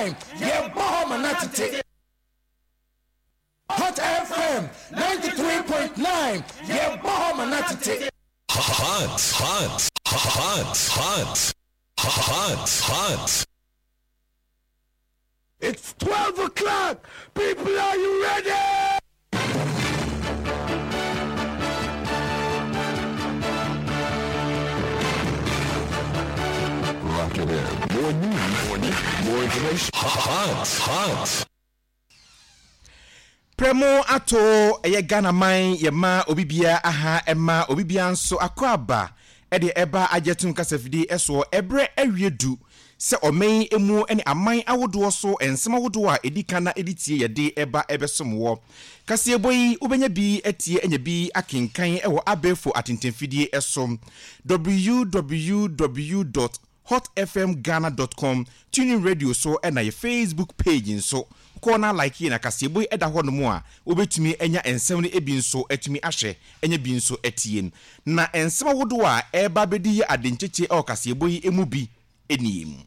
nine yɛbɔ hɔ ma no atete. Hot FM 93.9 yɛbɔ hɔ ma no atete. Hot, hot, hot, hot, hot, hot. It's 12 o'clock. People, are you ready? Rock it in. More news, more news, more information. Hot, hot. Prɛmo ato ɛyɛ Ghana man yɛ ma obi biara aha ɛma obi biara nso akɔ aba ɛde ɛba agyɛtum kasafidie ɛsoɔ ɛberɛ awie du sɛ ɔman yi mu ne aman ahodoɔ so nsɛm ahodoɔ a ɛdi kan na ɛdi tie yɛde ɛba ɛbɛsom wɔ kaseɛbɔ yi wobɛnya bi atie anya bi akenkan ɛwɔ abɛɛfo atentamfidie ɛso www. hotfmghana dot com, TuneIn Radio so ɛna yɛ Facebook page nso. Kɔ na like yɛn akaseɛbɔ yi ɛda hɔ nom a wobɛtumi anya nsɛm no bi nso atumi ahwɛ anya bi nso atie. Na nsɛm ahodoɔ a ɛreba abɛdi yɛ ade nkyekye ɛwɔ kaseɛbɔ yi mu bi nie.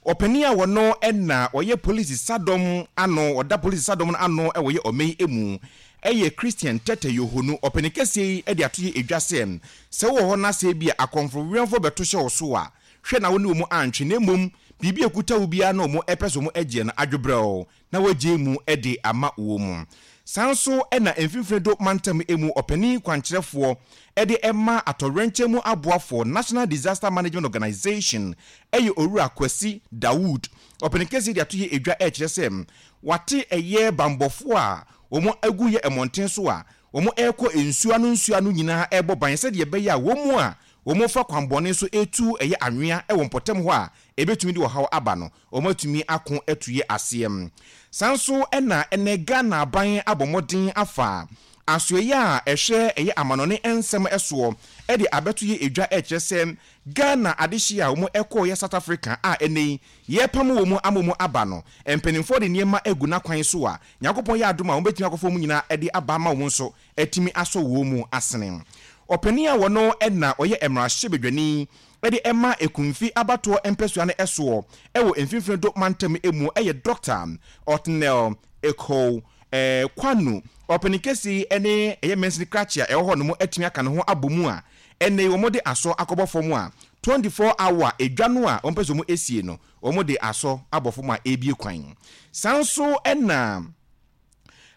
Ɔpanin a ɔno na ɔyɛ polisi sadɔm ano, ɔda polisi sadɔm no ano wɔ yɛ ɔman yi mu yɛ Christian Tetteh Yohonu. Ɔpanin kɛseɛ yi de ato yɛ edwa sɛ, sɛ wowɔ hɔ na sɛ ebia akɔmfo-wɛmfoɔ bɛto hyɛ wo so a, hwɛ na wo ne wɔn antwe, na mmom biribi a ɛkuta wo biara na wɔn pɛ sɛ wɔn gyeɛ no, adwobrɛw na wɔagyae mu de ama wɔn. Saa nso na Mfimfini Do Mantam mu ɔpanin kwankyerɛfoɔ de ma atɔwrɛnkyɛm mu aboafoɔ, National Disaster Management Organization, yɛ Owura Kwasi Dawood. Ɔpanin kɛseɛ de ato yɛ edwa rekyerɛ sɛ wate ɛyɛ banbɔfoɔ a wɔn agu yɛ mmɔnten so a wɔn rekɔ nsuo ano nsuo ano nyinaa rebɔ ban sɛdeɛ ɛbɛyɛ a wɔn a wɔfa kwanbɔne so retu ɛyɛ anwea wɔ mpɔtam hɔ a ɛbɛtumi de ɔhaw aba no wɔatumi ako atue aseɛ. Saa nso na ɛnnɛ Ghana aban abɔ mmɔden afa asoɛeɛ a ɛhwɛ ɛyɛ amanɔne nsɛm soɔ de abɛto yɛ edwa ɛrekyerɛ sɛ Ghana adehyeɛ a wɔn kɔeɛ South Africa a ɛnnɛ yi yɛrepamo wɔn ama wɔn aba no, mpanimfoɔ de nneɛma agu n'akwan so a Nyankopɔn yɛ adom a wɔbɛtumi akɔfa wɔn nyinaa de aba ama wɔn nso atumi asɔ wɔn mu asene. Ɔpanin a wɔno na ɔyɛ mmarahyɛbadwani de ma Ekumfi abatoɔ mpɛsoa no soɔ wɔ Mfimfini Do mantam mu yɛ Dɔkta Otnel Ekow Kwanu. Ɔpanin kɛseɛ yi ne ɛyɛ mansini krakye a ɛwɔ hɔ nom atumi aka ne ho abɔ mu a ɛnnɛ yi wɔde asɔ akɔbɔ fam a 24 hour edwa no a wɔpɛ sɛ wɔsie no wɔde asɔ abɔ fam a ɛrebue kwan. Saa nso na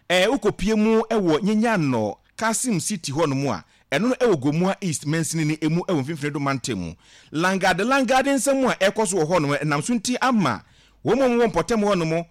Wokɔpue mu wɔ Nyenyanno, Kasim City hɔ nom a, ɛno no wɔ Gomoa East mansini no mu wɔ Mfimfini Do mantam mu. Langade Langade nsɛm a ɛrekɔ so wɔ hɔ nom nam so nti ama wɔn a wɔwɔ mpɔtam hɔ nom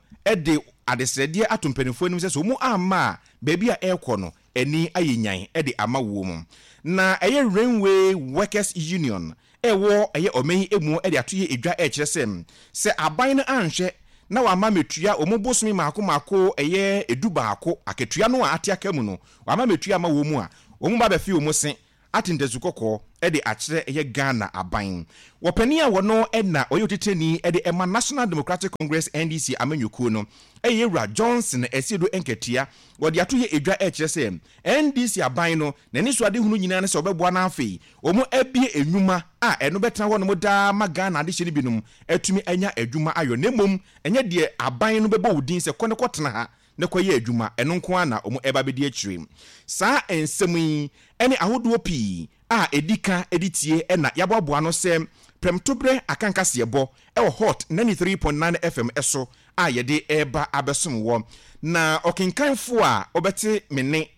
de adesrɛdeɛ ato mpanimfoɔ anim sɛ sɛ wɔn amma a baabi a ɛrekɔ no ani ayɛ nyan de ama wɔn. Na ɛyɛ Rainway Workers Union ɛwɔ ɛyɛ ɔman yi mu de ato yɛ dwa ɛrekyerɛ sɛ, sɛ aban no anhwɛ na wamma ametua wɔn bosome mmaako mmaako ɛyɛ du baako akatua no a ate aka mu no, wamma ametua amma wɔn a, wɔn ba bɛfe wɔn se ate ntasu kɔkɔɔ de akyerɛ ɛyɛ Ghana aban. Wɔ panin a wɔno na ɔyɛ otitenani de ma National Democratic Congress, NDC, amanyɔkuo no, ɛyɛ Wura Johnson Asiedu Nkatia, wɔde ato yɛ dwa ɛrekyerɛ sɛ NDC aban no n'anisoadehunu nyinaa ne sɛ wɔbɛboa na afei Wɔabue nnwuma a ɛno bɛtena hɔnom daa ma Ghana adehye no binom atumi anya adwuma ayɔ na mmom ɛnyɛ deɛ aban no bɛbɔ wo din sɛ kɔ na kɔtena ha na kɔyɛ adwuma, ɛno nko ara na wɔreba abɛdi akyire. Saa nsɛm yi ne ahodoɔ pii a ɛdi ka de tie na yɛaboaboa ano sɛ prɛmtoberɛ akankaseɛbɔ wɔ Hot 93.9 FM so a yɛde reba abɛsom wɔ. Na ɔkenkanfoɔ a wobɛte me nne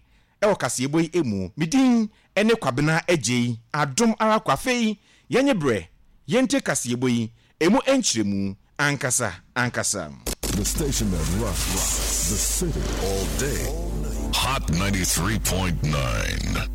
wɔ kaseɛbɔ yi mu. Me din ne Kwabena Agyei Adom ara kwa. Afei yɛnye berɛ yɛntie kaseɛbɔ yi ɛmu nkyerɛmu ankasa ankasa. The station that rocks the city all day. Hot 93.9.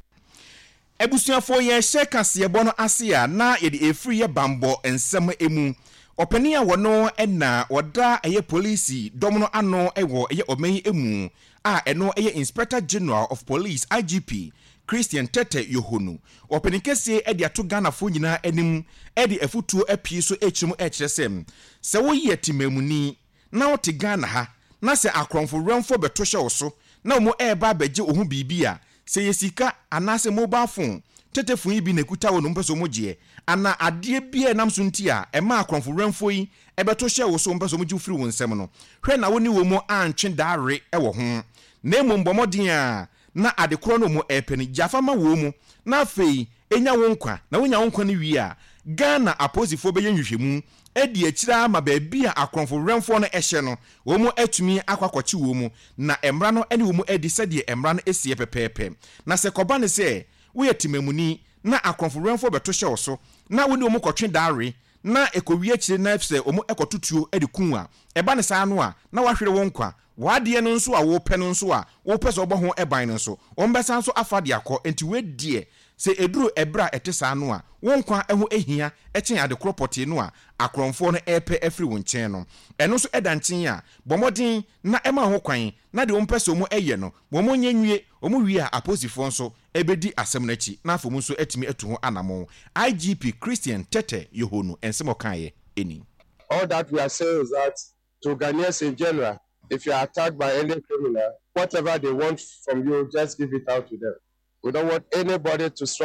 Abusuafoɔ yɛrehyɛ kaseɛbɔ no ase a na yɛde ɛfiri yɛ banbɔ nsɛm mu. Ɔpanin a wɔno na ɔda ɛyɛ polisi dɔm no ano wɔ ɛyɛ ɔman yi mu a ɛno yɛ Inspector General of Police, IGP, Christian Tetteh Yohonu. Ɔpanin kɛseɛ de ato Ghanafoɔ nyinaa anim de afutuo apue so rekyerɛ mu rekyerɛ sɛ, sɛ woyɛ temamuni na wote Ghana ha na sɛ akorɔmfo werɛmfoɔ bɛto hyɛ wo so na wɔn reba abɛgye wo ho biribi a, sɛ ɛyɛ sika anaasɛ mobile phone, tetefon yi bi na ɛkuta wo na wɔpɛ sɛ wɔgyeɛ. anaa adeɛ biara a ɛnam so nti a ɛmaa akorɔmfo werɛmfoɔ yi bɛto hyɛɛ wo so wɔpɛ sɛ wɔgye wo firi wo nsam no, hwɛ na wo ne wɔn antwe dare wɔ ho, na mmom bɔ mmɔden ara na ade korɔ no wɔn repɛ no, gya fa ma wɔn na afei nya wo nkwa, na wonya wo nkwa no wie a, Ghana apolisifoɔ bɛyɛ nhwehwɛmu adi akyire ara ma baabi a akorɔmfo werɛmfoɔ no hyɛ no, wɔn atumi akɔ akɔkye wɔn, na mmara no ne wɔn adi sɛdeɛ mmara no seɛ pɛpɛɛpɛ. Na sɛ ɛkɔba no sɛ woyɛ temamuni na akorɔmfo werɛmfoɔ bɛto hyɛ wo so na wo ne wɔn kɔtwe dare na ɛkɔwie akyire na sɛ wɔn kɔto tuo de ku wo a, ɛba no saa no a, na woahwere wo nkwa. W'adeɛ no nso a wopɛ no nso a wopɛ sɛ wobɔ ho ban no nso, wɔbɛsan nso afa de akɔ. Enti wei deɛ, sɛ ɛduru ɛberɛ a ɛte saa no a, wo nkwa ho hia kyɛn ade korɔ pɔtee no a akorɔmfoɔ no repɛ afiri wo nkyɛn no. Ɛno nso da nkyɛn a, bɔ mmɔden na ma ho kwan na deɛ wɔpɛ sɛ wɔyɛ no, wɔnyɛ nwie. Wɔwie a, apolisifoɔ nso bɛdi asɛm no akyi na afei wɔn nso atumi atu ho anammɔn. IGP Christian Tetteh Yohuno nsɛm a ɔkaeɛ ni. All that we are saying is that to Ghanaians in general, if you are attacked by any criminal, whatever they want from you, just give it out to them. We don't want anybody to struggle.